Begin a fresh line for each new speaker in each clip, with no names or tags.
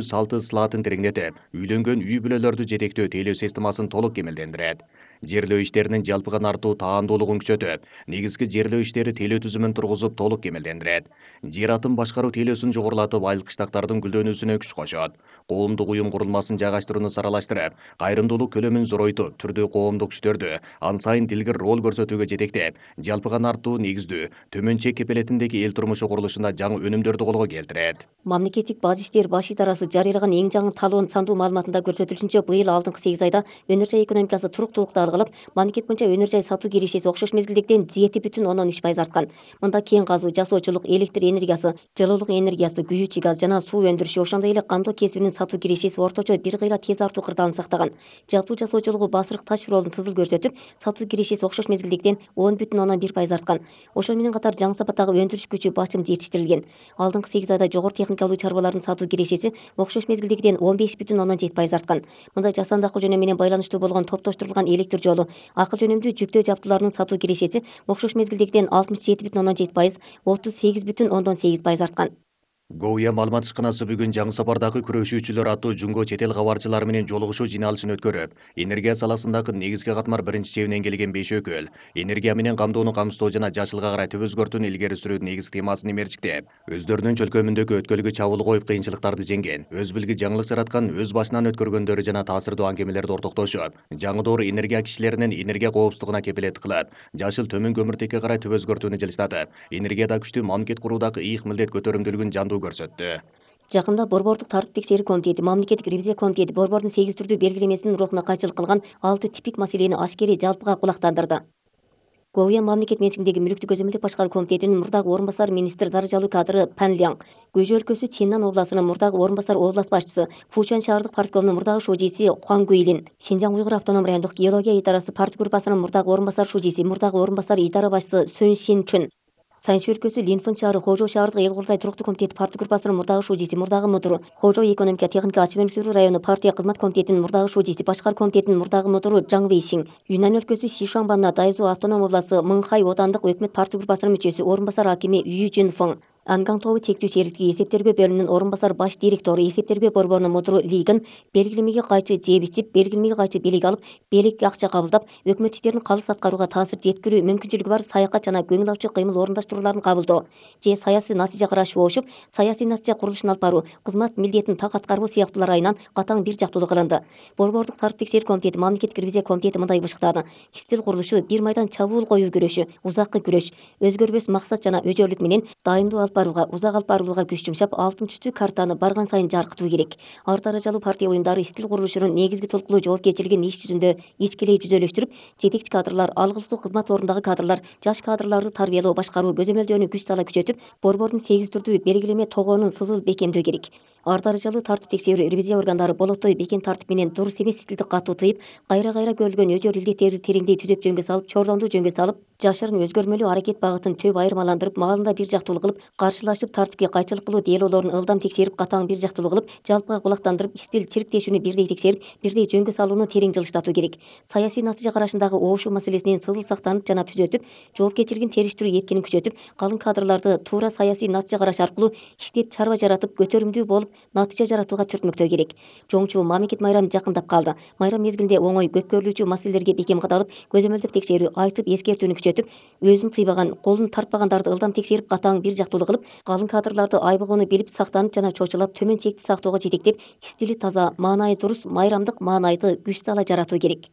салты сылаатын тереңдетип, үйлөнгөн үй бүлөлөрдү жетектөө тейлөө системасын толук кемелдендирет. Жерлөө иштеринин жалпыган артуу таандуулугун күчөтүп, негизги жерлөө иштери тейлөө түзүмүн тургузуп толук кемелдендирет. Жер атын башкаруу тейлөөсүн жогорулатып, айыл кыштактардын гүлдөнүүсүнө күч кошот. Коомдук уюм курулмасын жайгаштырууну саралаштырып, кайрымдуулук көлөмүн зоройтуп, түрдүү коомдук күчтөрдү ан сайын дилгир роль көрсөтүүгө жетектеп, жалпыган артуу негиздүү, төмөн чек кепелетиндеги эл турмушу курулушунда жаңы өнүмдөрдү колго келтирет.
Мамлекеттик баж иштер баш идарасы жарыялаган эң жаңы талоонун сандуу маалыматында көрсөтүлүшүнчө, быйыл алдыңкы 8 айда өнөр жай экономикасы туруктуулукту алгылап, мамлекет боюнча өнөр жай сатуу кирешеси окшош мезгилдегиден 7,3% арткан. Мында кен казуу, жасоочулук, электр энергиясы, жылуулук энергиясы, күйүүчү газ жана суу өндүрүшү, ошондой эле камдоо кесибинин сатуу кирешеси орточо бир кыйла тез артуу кырдаалын сактаган. Жалпы жасоочулугу басырык таш ролун сызыл көрсөтүп, сатуу кирешеси окшош мезгилдегиден 10,1% арткан. Ошону менен катар жаңы сапаттагы өндүрүш күчү башым жетиштирилген. Алдыңкы 8 айда жогору техникалуу чарбалардын сатуу кирешеси окшош мезгилдегиден 15,7% арткан. Мында жасандык жөнөм менен байланыштуу болгон топтоштурулган электр жолу, акыл жөнөмдүү жүктөө жабдууларынын сатуу кирешеси окшош мезгилдегиден 67,7%, 38,8% арткан.
Гоуя маалымат ишканасы бүгүн жаңы сапардагы күрөшүүчүлөр аттуу жунго чет эл кабарчылары менен жолугушуу жыйналышын өткөрүп, энергия саласындагы негизги катмар биринчи чебинен келген 5 өкүл энергия менен камдоону камсыздоо жана жашылга карай төп өзгөртүүнү илгери сүрүү негизги темасын эмерчиктеп, өздөрүнүн чөлкөмүндөгү өткөлгө чабуул коюп кыйынчылыктарды жеңген, өз билги жаңылык жараткан, өз башынан өткөргөндөрү жана таасирдүү аңгемелерди ортоктошуп, жаңы доор энергия кишилеринин энергия коопсуздугуна кепилет кылып, жашыл төмөн көмүртекке карай төп өзгөртүүнү жылыштатып, энергияда күчтүү мамлекет куруудагы ыйык милдет көтөрүмдүүлүгүн жандуу көрсөттү.
Жакында Борбордук тартип текшерүү комитети, мамлекеттик ревизия комитети борбордун 8 түрдүү белгилемесинин рухуна кайчылык кылган 6 типик маселени ашкери жалпыга кулактандырды. Гоуя мамлекет менчигиндеги мүлүктү көзөмөлдөп башкаруу комитетинин мурдагы орун басары министр даражалуу кадры Пан Ляң, Гуйжу өлкөсү Ченнан областынын мурдагы орун басары область башчысы, Фучан шаардык парткомунун мурдагы шужиси Хуан Гуйлин, Шинжаң уйгур автоном райондук геология идарасы парт группасынын мурдагы орун басары шужиси, мурдагы орун басары идара башчысы Сүн Шин Чүн, Санчи өлкөсү Линфэн шаары Хожоо шаардык эл курултай туруктуу комитети парт группасынын мурдагы шужиси, мурдагы мудуру, Хожоо экономика техника ачык өнүктүрүү району партия кызмат комитетинин мурдагы шужиси, башкар комитетинин мурдагы мудуру Жаң Вэйшиң, Юнан өлкөсү Сишуанбанна Дайзу автоном областы Мыңхай отандык өкмөт парт группасынын мүчөсү, орун басар акими Ю Жун Фeng, Анган тобу чектүү сериктиги эсептергөө бөлүмүнүн орун басар баш директору, эсептергөө борборунун мудуру Лигин белгилемеге кайчы жеп ичип, белгилемеге кайчы белек алып, белек акча кабылдап, өкмөт иштерин калыс аткарууга таасир жеткирүү мүмкүнчүлүгү бар саякат жана көңүл ачуу кыймыл орундаштырууларын кабылдоо же саясий натыйжа карашып обушуп, саясий натыйжа курулушун алып баруу, кызмат милдетин так аткарбоо сыяктуулар айынан катаң бир жактуулук кылынды. Борбордук тартип текшерүү комитети, мамлекеттик ревизия комитети мындай бышыктады: иштил курулушу бир майдан чабуул коюу күрөшү, узаккы күрөш, өзгөрбөс максат жана өжөрлүк менен дайымдуу алып барууга, узак алып барылууга күч жумшап, алтын түстүү картаны барган сайын жаркытуу керек. Ар даражалуу партия уюмдары иштил курулушунун негизги толкулуу жоопкерчилигин иш жүзүндө ичкилей жүзөлөштүрүп, жетекчи кадрлар, алгысыздуу кызмат ордундагы кадрлар, жаш кадрларды тарбиялоо, башкаруу, көзөмөлдөөнү күч сала күчөтүп, борбордун 8 түрдүү белгилеме тогоонун сызыл бекемдөө керек. Ар даражалуу тартип текшерүү ревизия органдары болотой бекем тартип менен дурус эмес стилди катуу тыйып, кайра көрүлгөн өжөр илдеттерди тереңдей түзөп жөнгө салып, чордондуу жөнгө салып, жашырын өзгөрмөлүү аракет багытын төп айырмаландырып, маалында бир жактуулук кылып, каршылашып тартипке кайчылык кылуу делоолорун ылдам текшерип, катаң бир жактуулук кылып, жалпыга кулактандырып, иштил чирктешүүнү бирдей текшерип, бирдей жөнгө салууну терең жылыштатуу керек. Саясий натыйжа карашындагы обушуу маселесинен сызыл сактанып жана түзөтүп, жоопкерчилигин териштирүү эркинин күчөтүп, калың кадрларды туура саясий натыйжа караш аркылуу иштеп чарба жаратып, көтөрүмдүү болуп, натыйжа жаратууга түртмөктөө керек. Жоңчу мамлекет майрамы жакындап калды. Майрам мезгилинде оңой, көп көрүлүүчү маселелерге бекем кадалып, көзөмөлдөп текшерүү, айтып эскертүүнү күчөтүп, өзүн тыйбаган, колун тартпагандарды ылдам текшерип, катаң бир жактуулук кылып, калың кадрларды айбыгууну билип, сактанып жана чочулап, төмөн чекти сактоого жетектеп, стили таза, маанайы дурус, майрамдык маанайды күч сала жаратуу керек.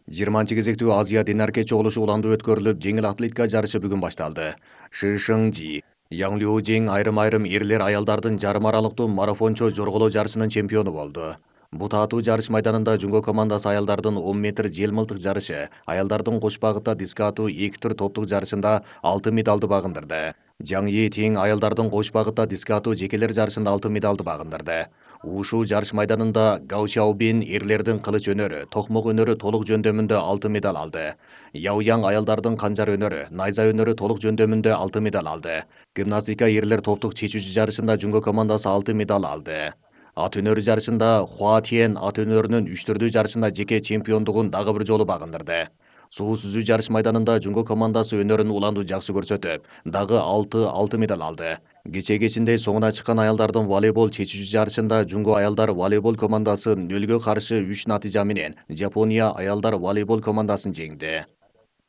20-кезектүү Азия Динарке чогулушу уланды өткөрүлүп, жеңил атлетика жарышы бүгүн башталды. Ши Шыңжи, Яң Лю-Жиң айрым аялдардын жарым аралыктуу марафончо жорголоо жарышынын чемпиону болду. Бут атуу жарыш майданында жунго командасы аялдардын 10 метр жел мылтык жарышы, аялдардын кош багытта диск атуу 2 түр топтук жарышында алтын медалды багындырды. Жаң Етиң аялдардын кош багытта диск атуу жекелер жарышында алтын медалды багындырды. Ушу жарыш майданында Гао Шаобин эрлердин кылыч өнөрү, токмок өнөрү толук жөндөмүндө алтын медаль алды. Яо Яң аялдардын канжар өнөрү, найза өнөрү толук жөндөмүндө алтын медаль алды. Гимнастика эрлер топтук чечүүчү жарышында жунго командасы алтын медаль алды. Ат өнөрү жарышында Хуа Тиен ат өнөрүнүн 3 түрдүү жарышында жеке чемпиондугун дагы бир жолу багындырды. Суу сүзүү жарыш майданында жунго командасы өнөрүн уланду жакшы көрсөтүп, дагы 6 алтын медаль алды. Кечинде соңуна чыккан аялдардын волейбол чечүүчү жарышында Жунго аялдар волейбол командасы 0-3 натыйжа менен Жапония аялдар волейбол командасын жеңди.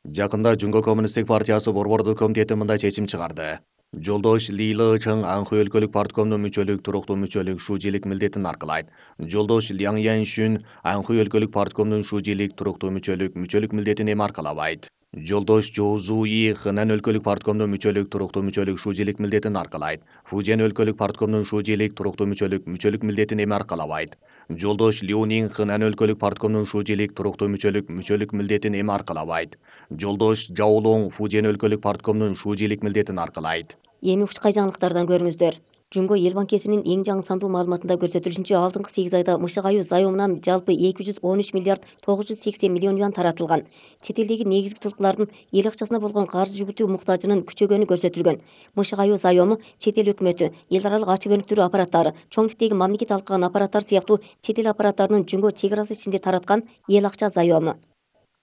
Жакында Жунго коммунисттик партиясы борбордук комитети мындай чечим чыгарды. Жолдош Ли Чың Анхы өлкөлүк парткомдун мүчөлүк, туруктуу мүчөлүк, шужийлик милдетин аркылайт. Жолдош Ляң Яншүн Анхы өлкөлүк парткомдун шужийлик, туруктуу мүчөлүк милдетин эми аркалабайт. Жолдош Жоо Зуи Хынан өлкөлүк парткомдун мүчөлүк, туруктуу мүчөлүк, шужийлик милдетин аркалайт. Фужен өлкөлүк парткомдун шужийлик, туруктуу мүчөлүк милдетин эми аркалабайт. Жолдош Леонин Хынан өлкөлүк парткомдун шужийлик, туруктуу мүчөлүк милдетин эми аркалабайт. Жолдош Жаолоң Фужен өлкөлүк парткомдун шужийлик милдетин аркалайт.
Эми ушкай жаңылыктардан көрүңүздөр. Жунго эл банкесинин эң жаңы сандуу маалыматында көрсөтүлүшүнчө алдыңкы 8 айда Мышык аюу заёмунан жалпы 213 миллиард 980 миллион юан таратылган. Чет элдеги негизги tulkulардын эл акчасына болгон карыз жүгүтүү муктажынын күчөгөнү көрсөтүлгөн. Мышык аюу заёму чет эл өкмөтү, эл аралык ачык өнүктүрүү аппараттары, чоң типтеги мамлекет алкаган аппараттар сыяктуу чет эл аппараттарынын Жунго чек арасы ичинде тараткан эл акча заёму.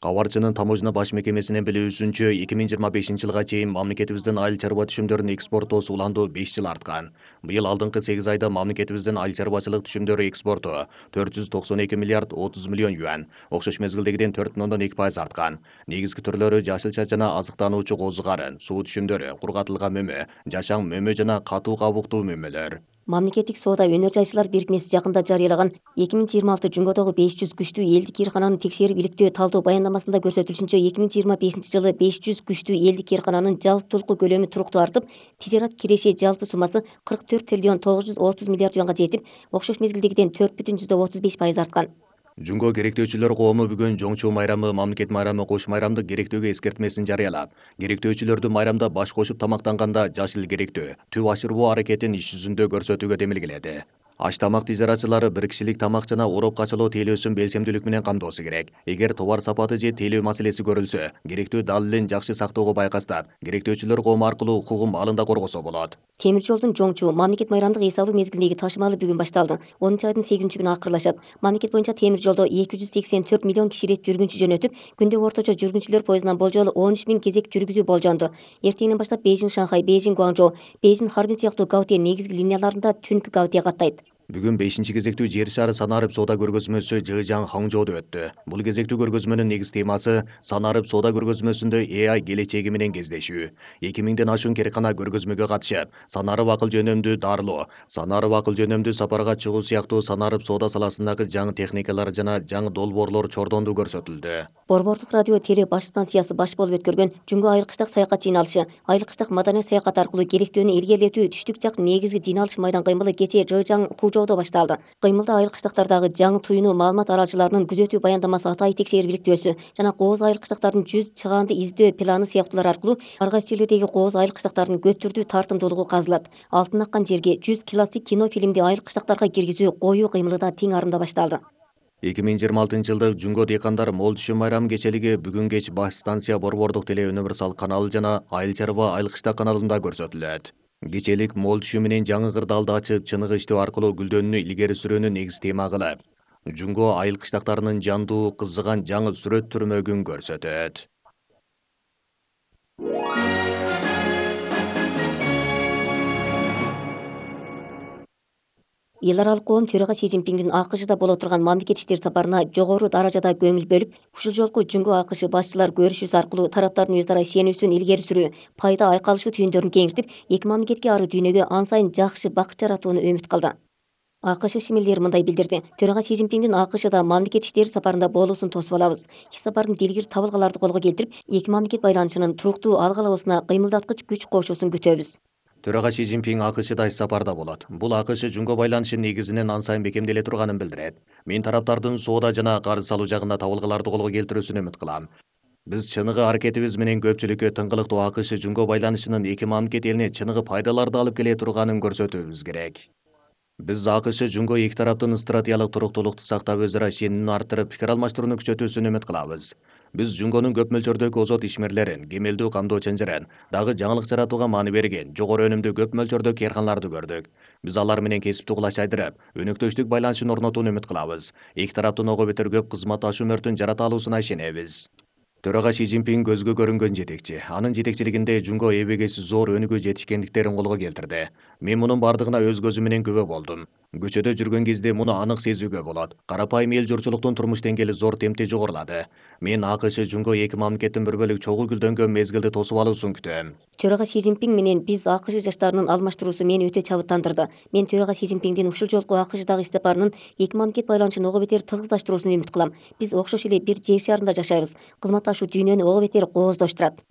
Кабарчынын таможня баш мекемесинин билүүсүнчө 2025 жылга чейин мамлекетибиздин айыл чарба түшүмдөрүн экспорттоосу уланду 5 жыл арткан. Быйыл алдыңкы 8 айда мамлекетибиздин айыл чарбачылык түшүмдөрү экспорту 492 миллиард 30 миллион юан, окшош мезгилдегиден 4,2% арткан. Негизги түрлөрү жашылча жана азыктануучу козу карын, суу түшүмдөрү, кургатылган мөмө, жашаң мөмө жана катуу кабуктуу мөмөлөр.
Мамлекеттик соода өнөр жайчылар бирикмеси жакында жарыялаган 2026 Жунгодогу 500 күчтүү элдик кыйркананы текшерип иликтөө талдоо баяндамасында көрсөтүлүшүнчө 2025 жылы 500 күчтүү элдик кыйркананын жалптуулук көлөмү туруктуу артып, тижарат киреши жалпы суммасы 44 триллион 930 миллиард юанга жетип, окшош мезгилдегиден 4,35% арткан.
Жунго керектөөчүлөр коому бүгүн жоңчу майрамы, мамлекет майрамы, кош майрамдык керектөөгө эскертмесин жарыялап, керектөөчүлөрдү майрамда баш кошуп тамактанганда жашыл керектөө, түп ашырбоо аракетин иш жүзүндө көрсөтүүгө демилгиледи. Аш тамак тижаратчылары бир кишилик тамак жана ороп качылуу тейлөөсүн белсемдүүлүк менен камдоосу керек. Эгер товар сапаты же тейлөө маселеси көрүлсө, керектөө далилин жакшы сактоого байкастап, керектөөчүлөр коому аркылуу укугун маалында коргосо болот.
Темир жолдун жоңчу мамлекет майрамдык эс алуу мезгилиндеги ташымалы бүгүн башталды. 10 айдын 8-күнү акырлашат. Мамлекет боюнча темир жолдо 284 миллион киши ирет жүргүнчү жөнөтүп, күндө орточо жүргүнчүлөр поездунан болжолу 13 000 кезек жүргүзүү болжонду. Эртеңден баштап Бейжиң Шанхай, Бейжиң Гуанчжоу, Бейжиң Харбин сыяктуу Гаутие негизги линияларында түнкү Гаутие каттайт.
Бүгүн 5 кезектүү жер шары санарып соода көргөзмөсү Жыжаң Хаңжоодо өттү. Бул кезектүү көргөзмөнүн негиз темасы санарып соода көргөзмөсүндө AI келечеги менен кездешүү. 2000ден ашуун керкана көргөзмөгө катышып, санарып акыл жөнөмдүү дарылоо, санарып акыл жөнөмдүү сапарга чыгуу сыяктуу санарып соода саласындагы жаңы техникалар жана жаңы долбоорлор чордонду көрсөтүлдү.
Борбордук радио теле баш станциясы баш болуп өткөргөн Жунго айыл кыштак саякат жыйналышы, айыл кыштак маданий саякат аркылуу керектөөнү илгерилетүү түштүк жак негизги жыйналыш майдан кыймылы кечээ Жыжаң Хужоодо башталды. Кыймылда айыл кыштактардагы жаңы туюну маалымат аралчыларынын күзөтүү баяндамасы атайы текшерип иликтөөсү жана кооз айыл кыштактардын 100 чыгаанды издөө планы сыяктуулар аркылуу ар кайсы жерлердеги кооз айыл кыштактардын көп түрдүү тартымдуулугу казылат. Алтын аккан жерге 100 классик кино фильмди айыл кыштактарга киргизүү коюу кыймылы да тең арымда башталды.
2026 жылдык Жунго дыйкандар мол түшүм майрамы кечелиги бүгүн кеч баш станция Борбордук теле универсал каналы жана Айыл чарба айыл кыштак каналында көрсөтүлөт. Кечелик мол түшүм менен жаңы кырдаалды ачып, чыныгы иштөө аркылуу гүлдөнүүнү илгери сүрүүнү негиз тема кылып, Жунго айыл кыштактарынын жандуу, кызыган жаңы сүрөт түрмөгүн көрсөтөт.
Эл аралык коом төрага Си Цзиньпиндин АКШда боло турган мамлекет иштери сапарына жогору даражада көңүл бөлүп, ушул жолку Жунго АКШ башчылар көрүшүүсү аркылуу тараптардын өз ара ишенүүсүн илгери сүрүү, пайда айкалышуу түйүндөрүн кеңиртип, эки мамлекетке ары дүйнөгө ан сайын жакшы бакыт жаратууну үмүт кылды. АКШ шимилдери мындай билдирди. Төрага Си Цзиньпиндин АКШда мамлекет иштери сапарында болуусун тосуп алабыз. Иш сапардын дилгир табылгаларды колго келтирип, эки мамлекет байланышынын туруктуу алгалабысына кыймылдаткыч күч кошуусун күтөбүз.
Төрага Си Цзиньпин АКШда иш сапарда болот. Бул АКШ Жунго байланышы негизинен ан сайын бекемделе турганын билдирет. Мен тараптардын соода жана карыз алуу жагында табылгаларды колго келтирүүсүн үмүт кылам. Биз чыныгы аракетибиз менен көпчүлүккө тыңгылыктуу АКШ Жунго байланышынын эки мамлекет элине чыныгы пайдаларды алып келе турганын көрсөтүүбүз керек. Биз АКШ Жунго эки тараптын стратегиялык туруктуулукту сактап, өз ара ишенимин арттырып, пикир алмаштырууну күчөтүүсүн үмүт кылабыз. Биз Жунгонун көп мөлчөрдөгү озот ишмерлерин, кемелдүү камдоо чынжырын, дагы жаңылык жаратууга маани берген, жогору өнүмдүү көп мөлчөрдөгү кыйрканаларды көрдүк. Биз алар менен кесиптүү кулаш айдырып, өнөктөштүк байланышын орнотууну үмүт кылабыз. Эки тараптын ого бетер көп кызматташуу мөртүн жарата алуусуна ишенебиз. Төрага Си Цзиньпин көзгө көрүнгөн жетекчи. Анын жетекчилигинде Жунго эбегейсиз зор өнүгүү жетишкендиктерин колго келтирди. Мен мунун бардыгына өз көзүм менен күбө болдум. Көчөдө жүргөн кезде муну анык сезүүгө болот. Карапайым эл журчулуктун турмуш деңгээли зор темпте жогорулады. Мен АКШ Жунго эки мамлекеттин бір бөлүк чогуу гүлдөнгөн мезгилди тосуп алуусун күтөм.
Төрага Си Цзиньпин менен биз АКШ жаштарынын алмаштыруусу мени өтө чабыттандырды. Мен төрага Си Цзиньпиндин ушул жолку АКШдагы иш сапарынын эки мамлекет байланышын ого бетер тыгыздаштыруусун үмүт кылам. Биз окшош эле бир жер шарында жашайбыз. Кызматташуу дүйнөнү ого бетер кооздоштурат.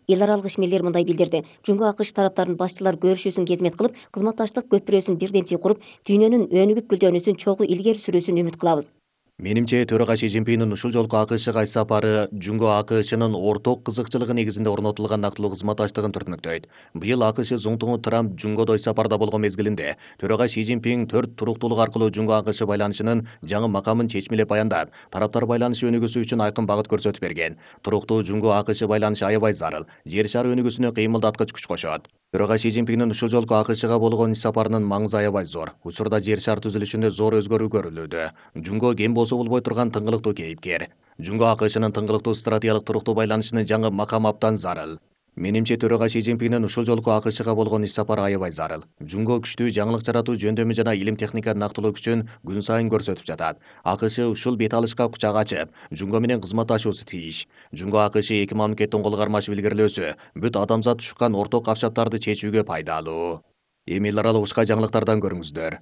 Эл аралык ишмерлер мындай билдирди. Жунго АКШ тараптарынын башчылары көрүшүүсүн кезмет кылып, кызматташтык көпүрөсүн бирден куруп, дүйнөнүн өнүгүп гүлдөнүүсүн чогуу илгери сүрүүсүн үмүт кылабыз.
Менимче төрага Си Цзиньпиндин ушул жолку АКШга иш сапары Жунго АКШнын орток кызыкчылыгы негизинде орнотулган нактылуу кызматташтыгын түртмөктөйт. Быйыл АКШ зуңтуңу Трамп Жунгодо иш сапарда болгон мезгилинде төрага Си Цзиньпин 4 туруктуулук аркылуу Жунго АКШ байланышынын жаңы макамын чечмелеп баяндап, тараптар байланышы өнүгүүсү үчүн айкын багыт көрсөтүп берген. Туруктуу Жунго АКШ байланышы аябай зарыл. Жер шары өнүгүүсүнө кыймылдаткыч күч кошот. Төрага Си Цзиньпиндин ушул жолку АКШга болгон иш сапарынын маңызы аябай зор. Учурда жер шар түзүлүшүндө зор өзгөрүү көрүлүүдө. Жунго кем болсо болбой турган тыңгылыктуу кейипкер. Жунго АКШнын тыңгылыктуу стратегиялык туруктуу байланышынын жаңы макамы абдан зарыл. Менимче төрага Си Цзиньпиндин ушул жолку АКШга болгон иш сапары аябай зарыл. Жунго күчтүү жаңылык жаратуу, жөндөмү жана илим техника нактылуу күчүн күн сайын көрсөтүп жатат. АКШ ушул бет алышка кучак ачып, Жунго менен кызматташуусу тийиш. Жунго АКШ эки мамлекеттин кол кармашып илгерилөөсү бүт адамзат тушкан орток капчаптарды чечүүгө пайдалуу. Эми эл аралык ушка жаңылыктардан көрүңүздөр.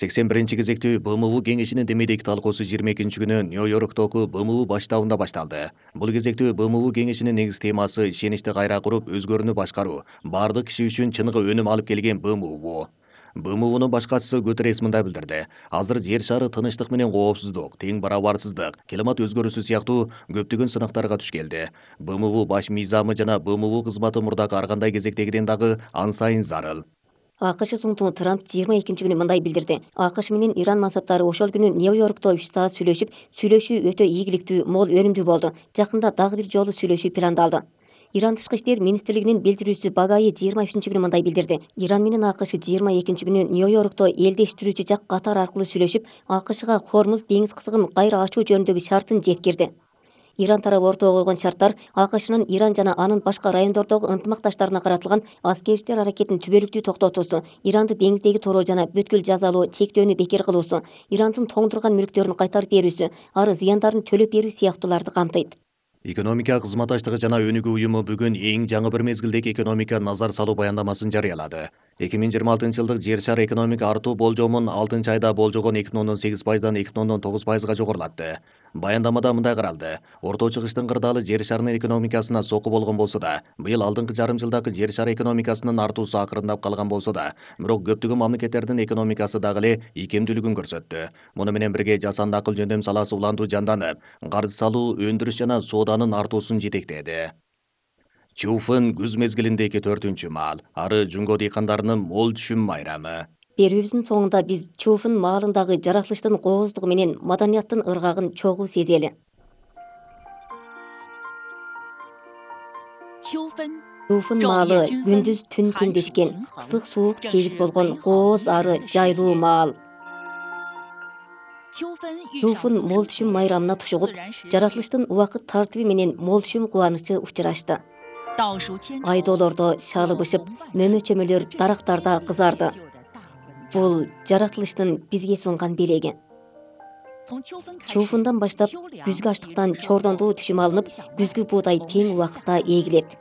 81 кезектүү БМУ кеңешинин демейдеги талкуусу 22-күнү Нью-Йорктогу БМУ баш штабында башталды. Бул кезектүү БМУ кеңешинин негиз темасы ишеничти кайра куруп, өзгөрүүнү башкаруу, баардык киши үчүн чыныгы өнүм алып келген БМУ. БМУнун баш катчысы Гутеррес мындай билдирди. Азыр жер шары тынычтык менен коопсуздук, тең барабарсыздык, климат өзгөрүүсү сыяктуу көптөгөн сынактарга туш келди. БМУ баш мыйзамы жана БМУ кызматы мурдагы ар кандай кезектегиден дагы ан сайын зарыл.
АКШ зуңтуңу Трамп 22-күнү мындай билдирди. АКШ менен Иран мансаптары ошол күнү Нью-Йоркто 3 саат сүйлөшүү өтө ийгиликтүү, мол өнүмдүү болду. Жакында дагы бир жолу сүйлөшүү пландалды. Иран тышкы иштер министрлигинин билдирүүсү Багаи 23-күнү мындай билдирди. Иран менен АКШ 22-күнү Нью-Йоркто элдештирүүчү жак катар аркылуу сүйлөшүп, АКШга Хормуз деңиз кызыгын кайра ачуу жөнүндөгү шартын жеткирди. Иран тарабы ортого койгон шарттар АКШнын Иран жана анын башка райондордогу ынтымакташтарына каратылган аскери иштер аракетин түбөлүктүү токтотуусу, Иранды деңиздеги тороо жана бүткүл жазалоо чектөөнү бекер кылуусу, Ирандын тоңдурган мүлктөрүн кайтарып берүүсү, ары зыяндарын төлөп берүү сыяктууларды камтыйт.
Экономика кызматташтыгы жана өнүгүү уюму бүгүн эң жаңы бир мезгилдеги экономика назар салуу баяндамасын жарыялады. 2026-жылдык жер шары экономика артуу болжомун 6-айда болжогон 2,8%дан 2,9%га жогорулатты. Баяндамада мындай каралды. Орто чыгыштын кырдаалы жер шарынын экономикасына соку болгон болсо да, быйыл алдыңкы жарым жылдагы жер шары экономикасынын артуусу акырындап калган болсо да, бирок көптөгөн мамлекеттердин экономикасы дагы эле ийкемдүүлүгүн көрсөттү. Муну менен бирге жасанды акыл жөндөм саласы улантуу жанданып, каржы салуу, өндүрүш жана сооданын артуусун жетектеди. Чуфын күз мезгилиндеги 4-маал, ары Жунго дыйкандарынын мол түшүм майрамы.
Берүүбүздүн соңунда биз Чуфын маалындагы жаратылыштын кооздугу менен маданияттын ыргагын чогуу сезели. Чуфын маалы күндүз түн теңдешкен, ысык суук тегиз болгон кооз ары жайлуу маал. Чуфын мол түшүм майрамына тушугуп, жаратылыштын убакыт тартиби менен мол түшүм кубанычы учурашты. Айдоолордо шалы бышып, мөмө-чөмөлөр дарактарда кызарды. Бул жаратылыштын бизге сунган белеги. Чуфундан баштап күзгү аштыктан чордондуу түшүм алынып, күзгү буудай тең убакытта эгилет.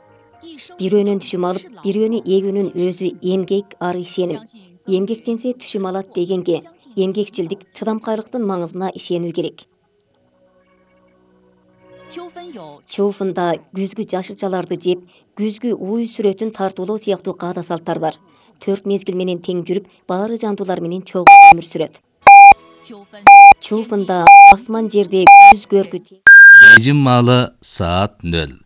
Бирөөнөн түшүм алып, бирөөнү эгүүнүн өзү эмгек ары ишеним. Эмгектенсе түшүм алат дегенге, эмгекчилдик, чыдамкайлыктын маңызына ишенүү керек. Чуфунда күзгү жашылчаларды жеп, күзгү ууй сүрөтүн тартуулоо сыяктуу каада салттар бар. 4 мезгил менен тең жүрүп, баары жандуулар менен чогуу өмүр сүрөт. Чуфунда асман жерде күз көркү.
Бейжин маалы саат 0.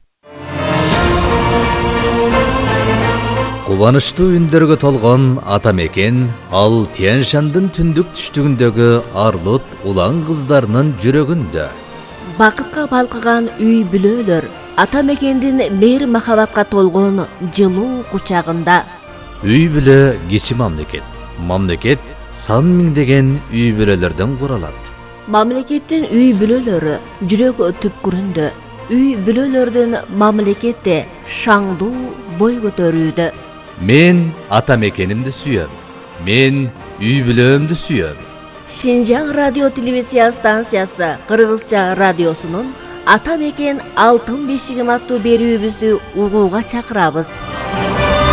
Кубанычтуу үндөргө толгон ата мекен ал Тянь-Шандын түндүк түштүгүндөгү Арлут улан кыздарынын жүрөгүндө.
Бакытка балкыган үй бүлөлөр ата мекендин мейир махабатка толгон жылуу кучагында.
Үй бүлө кичи мамлекет. Мамлекет сан миңдеген үй бүлөлөрдөн куралат.
Мамлекеттин үй бүлөлөрү жүрөк түпкүрүндө. үй бүлөлөрдүн мамлекетте шаңдуу бой көтөрүүдө.
Мен ата мекенимди сүйөм. Мен үй бүлөөмдү сүйөм.
Шинжаң радио телевизия станциясы Кыргызча радиосунун Ата мекен алтын бешигим аттуу берүүбүздү угууга чакырабыз.